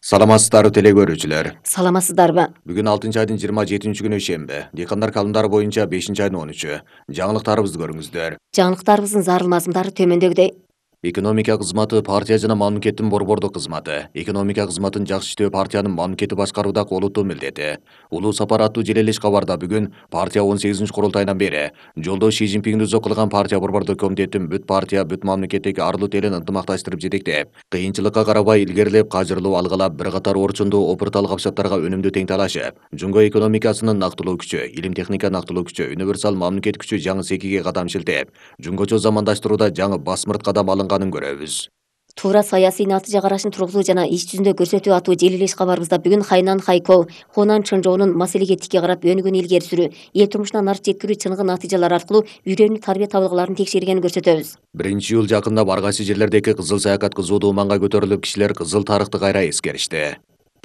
Саламатсыздарбы теле көрүүчүлөр. Саламатсыздарбы? Бүгүн 6 айдын 27-күнү шемби. Дыйкандар каалымдары боюнча 5-айдын 13-ү. Жаңылыктарыбызды көрүңүздөр. Жаңылыктарыбыздын зарыл мазмундары төмөндөгүдөй. Экономика кызматы партия жана мамлекеттин борбордук кызматы. Экономика кызматын жакшы иштөө партиянын мамлекеттик башкарууда колутуу милдети. Улуу сапар аттуу желелеш кабарда бүгүн партия 18-курултайынан бери жолдо Ши Цзиньпиңди зоккулаган партия борбордук комитеттин бүт партия, бүт мамлекеттик арлуу телин ынтымакташтырып жетектеп, кыйынчылыкка карабай илгерилеп, кажырлуу алгылап, бир катар орчундуу опуртал капчаттарга өнүмдүү тең талашып, жумго экономикасынын нактылуу күчү, илим техника нактылуу күчү, универсал мамлекет күчү жаңы секиге кадам шилтеп, жумгочо замандаштырууда жаңы басмырт кадам алынганын көрөбүз. Туура саясий натыйжа карашын тургузуу жана иш жүзүндө көрсөтүү аттуу желелеш кабарыбызда бүгүн Хайнан Хайкоу, Хонан Чонжоунун маселеге тикке карап өнүгүүнү илгери сүрүү, эл турмушуна нарт жеткирүү чыныгы натыйжалар аркылуу үйрөнүү тарбия табылгаларын текшергенин көрсөтөбүз. 1-июль жакында ар кайсы жерлердеки кызыл саякат кызуу маанга көтөрүлүп, кишилер кызыл тарыхты кайра эскеришти.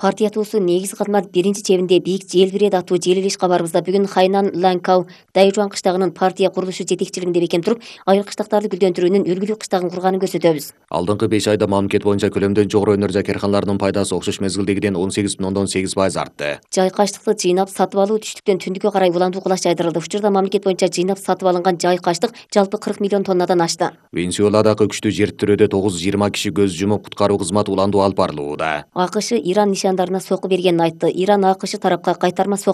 Партия туусу негизги кызмат биринчи чебинде бийик желбирет аттуу желелеш кабарыбызда бүгүн Хайнан Ланкау Дайжуан кыштагынын партия курулушу жетекчилигинде бекем туруп, айыл кыштактарды гүлдөндүрүүнүн үлгүлүү кыштагын курганын көрсөтөбүз. Алдыңкы 5 айда мамлекет боюнча көлөмдөн жогору өнөр карканаларынын пайдасы окшош мезгилдегиден 18,8% артты. Жай каштыкты жыйнап сатып алуу түштүктөн түндүккө карай уландуу кулаш жайдырылды. Учурда мамлекет боюнча жыйнап сатып алынган жай каштык жалпы 40 миллион тоннадан ашты. Венесуэладагы күчтүү жер титирөөдө 920 киши көз жумуп, куткаруу кызматы уландуу алып барылууда. АКШ Иран нишандарына сокку бергенин айтты. Иран АКШ тарапка кайтарма